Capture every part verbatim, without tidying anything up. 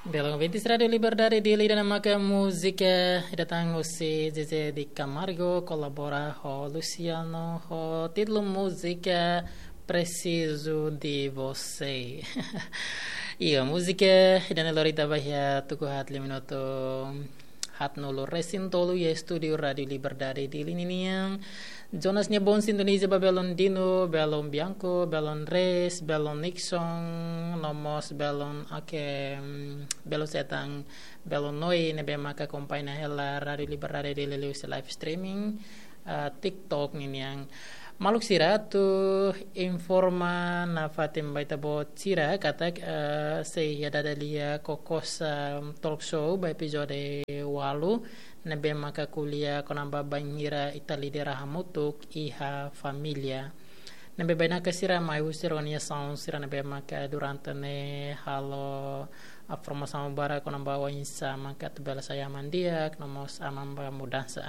Belun, ouvintes Rádiu Liberdade Dili, ida-ne'e maka múzika ida tan husi Zezé de Camargo, kolabora ho Luciano, ho títulu múzika Preciso de Você. Iha múzika ida-ne'e lori ita ba iha tuku haat lia minutu haatnulu resin tolu iha estúdiu Rádiu Liberdade Dili ninian. Jonas nia bom sintoniza ba belun Dino, belun Bianco, belun Res, belun Nixon, no mós belun, oke, mm, belun Setan, belun Noi, ne'ebé maka akompaña hela Rádiu Liberdade Dili liuhusi live streaming, ah, TikTok ninian. Maluk sira, atu informa nafatin ba ita-boot sira katak, eh, sei iha Dada Lia Kokosa Talk Show ba epizode ualu, ne'ebé maka ko'alia kona-ba bainhira ita lidera hamutuk iha família. Ne'ebé bainaka sira mai husi organizasaun sira ne'ebé maka durante ne'e halo, ah, formasaun barak kona-ba oinsá maka atu bele sai aman di'ak, no mós aman ba mudansa.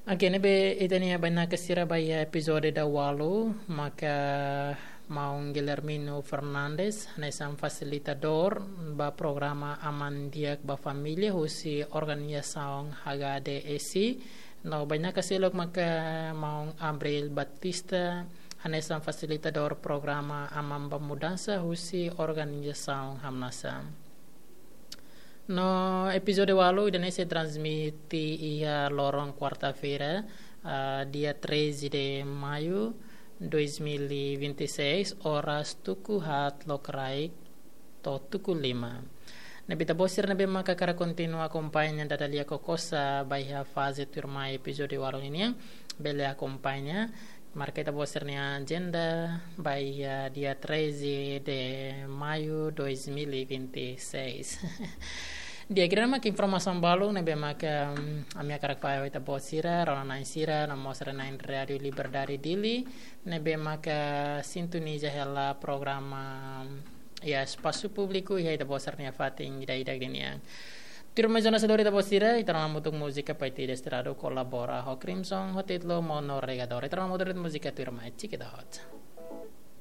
Oke, ne'ebé ita-nia bainaka sira ba iha epizode daualu, maka maun Guilhermino Fernandes, hanesan fasilitadór ba programa Aman Di'ak ba Família husi organizasaun H K D S I, no bainaka seluk maka maun Abril Batista, hanesan fasilitadór programa Aman ba Mudansa husi organizasaun Hamnasa. No epizode ualu ida-ne'e sei transmite iha loron kuarta-feira, ah, dia treze de maio dois mil e vinte e seis, oras tuku haat lokraik to'o tuku lima. Ne'ebé ita-boot sira ne'ebé maka hakarak kontinua akompaña Dada Lia Kokosa ba iha faze tuirmai epizode ualu ninian, bele akompaña. Marka ita-boot sira-nia ajenda ba iha dia treze de maio dois mil e vinte e seis. Di'ak, ida-ne'e maka informasaun balun ne'ebé maka, mm, ami hakarak fahe ba ita-boot sira, rona-na'in sira, no mós rona-na'in Rádiu Liberdade Dili, ne'ebé maka sintoniza hela programa iha espasu públiku iha ita-boot sira-nia fatin ida-idak ninian. Tuirmai Jonas, hodi ita-boot sira, ita rona hamutuk múzika Paiti Desterrado kolabora ho Crimson, ho títulu Mono Regador. Ita rona hamutuk múzika tuirmai, check it out.